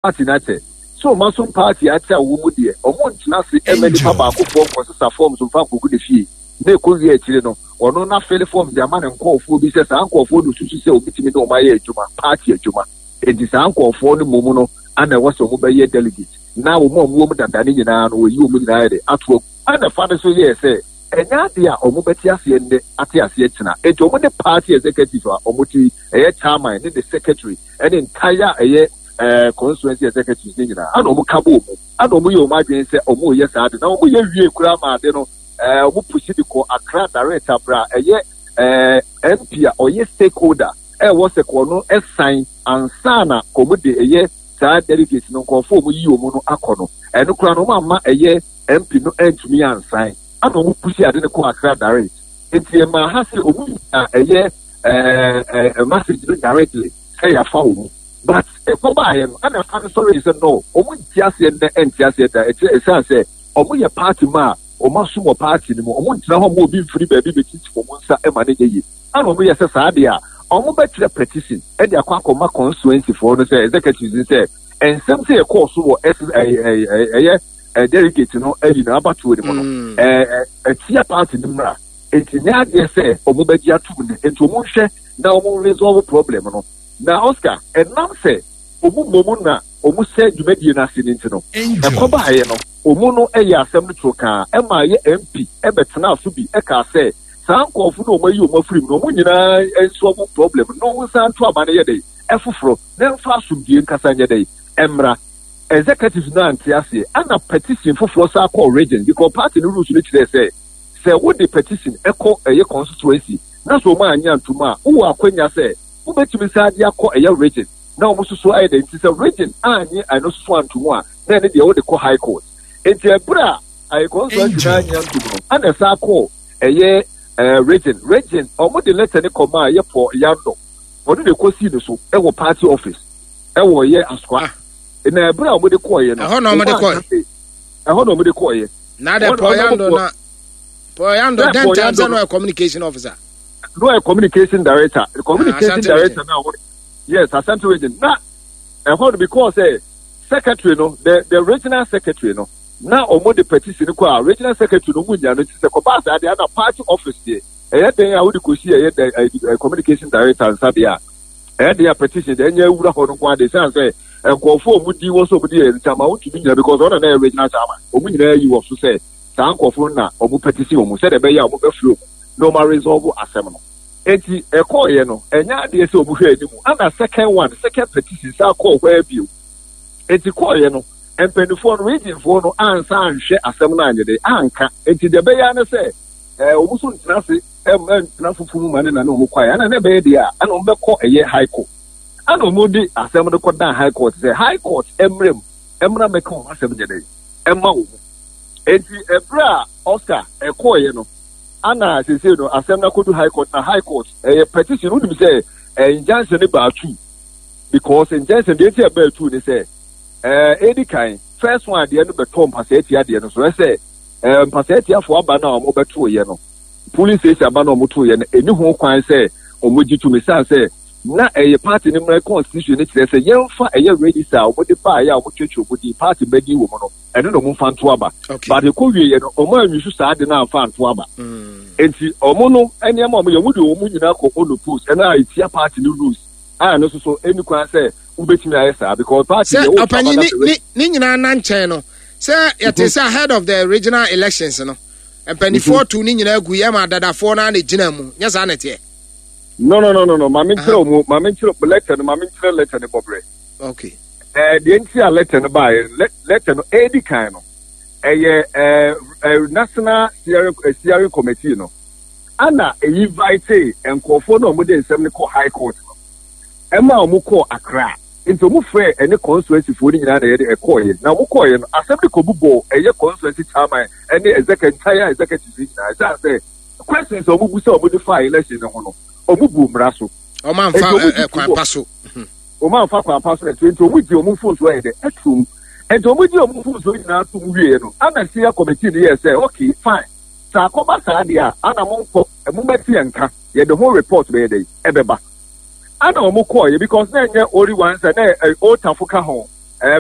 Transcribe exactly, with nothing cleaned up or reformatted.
Party no akyɛ sɛ ɔmo asom party akyɛ a wɔn mu deɛ, ɔmo ntena ase ɛma nipa baakofoɔ nkɔsesa forms mfa nkɔgu ne fie na ɛkɔ wie akyire no, ɔno na fill forms de ama ne nkɔɔfoɔ bi sɛ saa nkɔɔfoɔ no susu sɛ obitumi ne ɔmo ayɛ adwuma, party adwuma. Enti saa nkɔɔfoɔ no mmom no ana ɛwɔ sɛ ɔmo bɛyɛ delegate, na wɔn a ɔmo wɔ mu dada ne nyinaa no, wɔyi wɔn nyinaa yɛ de ato agu. Ɛna fa no so yɛɛ sɛ ɛnyɛ adeɛ a ɔmo bɛte aseɛ nnɛ ate aseɛ kyena. Enti ɔmo ne party executive a ɔmo ti ɛyɛ chairman ne ne secretary ɛne entire ɛyɛ ɛɛ constituency executives ne nyinaa ana ɔmo ka bɔ ɔmo, ana ɔmo yɛ ɔmo adwene sɛ ɔmo yɛ saa de, na ɔmo yɛ wie koraa ma ade no ɛɛ ɔmo push de kɔ Accra direct abra ɛyɛ ɛɛ M P a ɔyɛ stakeholder ɛwɔ sɛ kɔ no ɛsan ansa na ɔmo de ɛyɛ saa delegate no nkɔɔfo ɔmo yi ɔmo no akɔ no. Ɛno koraa no, ɔmo ama ɛyɛ M P no ɛntumi ansan, ana ɔmo push ade no kɔ Accra direct. Nti ɛmaa ha sɛ ɔmo nyinaa ɛyɛ ɛɛ ɛɛ message no directly sɛ yɛafa wɔn, but ɛkɔ baayɛ no, ɛna ɛfa no sɔrɔ yi sɛ no, ɔmo nti aseɛ nnɛ, ɛnti aseɛ da. Ɛkyerɛ ɛsan sɛ ɔmo yɛ party mu a ɔmo asom wɔ party no mu, ɔmo ntena hɔ ma obi mfiri baabi bɛtiti wɔn nsa ɛma ne nyɛ yie. Ɛna ɔmo yɛ sɛ saa deɛ a, ɔmo bɛkyerɛ petition ɛde akɔ akɔma constituency foɔ no sɛ executives no sɛ nsɛm sɛ yɛkɔɔ so wɔ ɛs ɛyɛ ɛyɛ ɛyɛ ɛ delegate no ɛyi na abatoɔ ne mu no, ɛɛ ɛtia party no mmra. Nti nyɛ adeɛ sɛ ɔmo bɛgye atum ne, nti ɔmo nhwɛ na ɔmo resolve problem no. Na Oscar, ɛnam sɛ ɔmo mmom na ɔmo sɛ dwumadie no ase ne nti no, ɛkɔ baayɛ no, ɔmo no ɛyɛ asɛm no toro kaa ɛma ɛyɛ M P ɛbɛtena so bi ɛkaa sɛ saa nkɔɔfo no ɔmo ayi ɔmo afiri mu no, ɔmo nyinaa nso ɔmo problem no, ɔmo nsa nto aba no yɛ dɛ ɛfoforɔ na mfa asomdue nkasa nyɛ dɛ ɛmmra. Executive no ante aseɛ, ana petition foforɔ saa kɔɔ region, because party no rules no kyerɛ sɛ sɛ wode petition ɛkɔ ɛyɛ constituency na sɛ ɔmo anya ntoma a, wowɔ akwanya sɛ wobɛtumi saa de akɔ ɛyɛ region na ɔmo soso ayɛ dɛ. Nti sɛ region anye ɛno soso antom a, na ɛne deɛ wode kɔ high court. Nti ɛberɛ a ɛyɛ constituency na anya ntom no, ana ɛsa kɔ ɛyɛ ɛɛ region region ɔmo de letter ne kɔma a ɛyɛ Paul Yando, ɔno de kɔsii ne so ɛwɔ party office ɛwɔ ɛyɛ Asokwa. Na ɛberɛ a ɔmo de kɔɔyɛ no, ɛhɔ na ɔmo de kɔɛ? Ɛhɔ na ɔmo de kɔɔyɛ. Na de Paul Yando na Paul Yando den time sɛ no yɛ communication officer? No, yɛ communication director, communication director na ɔmo, yes, Asante Region. Na ɛhɔ no, because ɛ secretary no, the the regional secretary no, na ɔmo de petition kɔ a, regional secretary no ɔmo nya no. Ti sɛ kɔba asa adeɛ ana party office deɛ, ɛyɛ den a wode kɔsi ɛyɛ dɛ communication director nsa deɛ a, ɛyɛ den a petition deɛ ɛnyɛ awura hɔ no nko ade san sɛ nkurɔfoɔ a ɔmo di wɔ so, ɔmo di yɛ chairman wontumi nyina, because ɔno na ɛyɛ regional chairman. Ɔmo nyinaa yi wɔ so sɛ saa nkurɔfoɔ na ɔmo petition ɔmo sɛdeɛ ɛbɛyɛ a ɔmo bɛfiri ɔmo na ɔmo aresolve asɛm no. Eti ɛkɔɔyɛ no, ɛnyɛ adeɛ sɛ ɔmo hwɛ anim, ana second one, second petition saa kɔɔ hɔ abio. Eti kɔɔyɛ no, mpanimfoɔ no, regionfoɔ no ansa anhwɛ asɛm no anyɛ de anka. Eti deɛ ɛbɛyɛ ano sɛ ɛɛ ɔmo nso ntena ase ɛm ntena fufu mu ma ne na ne ɔmo kɔɛ, ɛna ne bɛyɛ deɛ a, ɛna ɔmo bɛkɔ ɛyɛ high court, ɛna ɔmo de asɛm no kɔ dan high court sɛ high court ɛmmerɛ mu ɛmmerɛ mɛka ɔmo asɛm nyɛ dɛ ɛma wɔn. Eti ɛbrɛ a Oscar ɛkɔɔyɛ no, ana sese no asɛm no akɔdu high court, na high court ɛyɛ petition. Wonim sɛ ɛɛ injunction ne baa two, because injunction deɛ nti ɛbaa two ne sɛ ɛɛ edi kan, first one adeɛ no bɛtɔ mpasɛɛ tia adeɛ no so, ɛsɛ ɛɛ mpasɛɛ tiafoɔ aba no a wɔn bɛto yɛ no, polling station aba no a wɔn to yɛ no, ɛni ho kwan sɛ wɔn gye tumi, san sɛ na ɛyɛ party no mmerɛ constitution no kyerɛ sɛ yɛmfa ɛyɛ register a wɔde baeɛ a wɔtwetwe wɔn din, party bɛdin wɔ mu no, ɛno na wɔn mfa nto aba. But ɛkɔ wie yɛ no, wɔn anwi so saa de no amfa nto aba. Nti wɔn no nneɛma a wɔn yɛ, wɔn de wɔn nyinaa kɔ unopposed, ɛna a etia party no rules a ɛno nso so ɛni kwan sɛ wobɛtumi ayɛ saa, because party sɛ ɔpanyin ne ne ne nyinaa na nkyɛn no sɛ yɛte sɛ head of the regional elections no, mpanimfoɔ tu ne nyinaa gu yɛ ma adadafoɔ no ana gyina mu. Nyɛ saa na ɛteɛ? no no no no no maame nkyerɛ mu, maame nkyerɛ letter no, maame nkyerɛ letter no bɔbrɛ. Okay. Ɛɛ deɛ nti a letter no baayɛ, letter no edi kan no, ɛyɛ ɛɛ ɛɛ national steering steering committee no ana eyi invite nkurɔfoɔ no a wɔde nsɛm no kɔ high court no, ɛma wɔn kɔɔ Accra. Nti wɔn frɛ ɛne constituency foɔ no nyinaa na yɛde ɛkɔɔyɛ, na wɔn kɔɔyɛ no, asɛm de kɔ bubɔ ɛyɛ constituency chairman ɛne executive, entire executive nyinaa, ɛsan sɛ questions a wɔn bu sɛ wɔn de fa election no ho no, wɔn bu mmara so. Wɔn anfa kwan pa so. Wɔn anfa kwan pa so ɛto, nti wɔn gye wɔn mfonso ayɛ dɛ ɛtum. Nti wɔn gye wɔn mfonso nyinaa tum wie no, ana senior committee no yɛ sɛ okay, fine, sɛ akɔba saa deɛ a, ana mo nkɔ, mo bɛte yɛn nka, yɛde ho report bɛyɛ dɛ ɛbɛba. Ana wɔn kɔɔ yɛ, because na ɛnyɛ only one sɛ na ɛ otafo ka ho.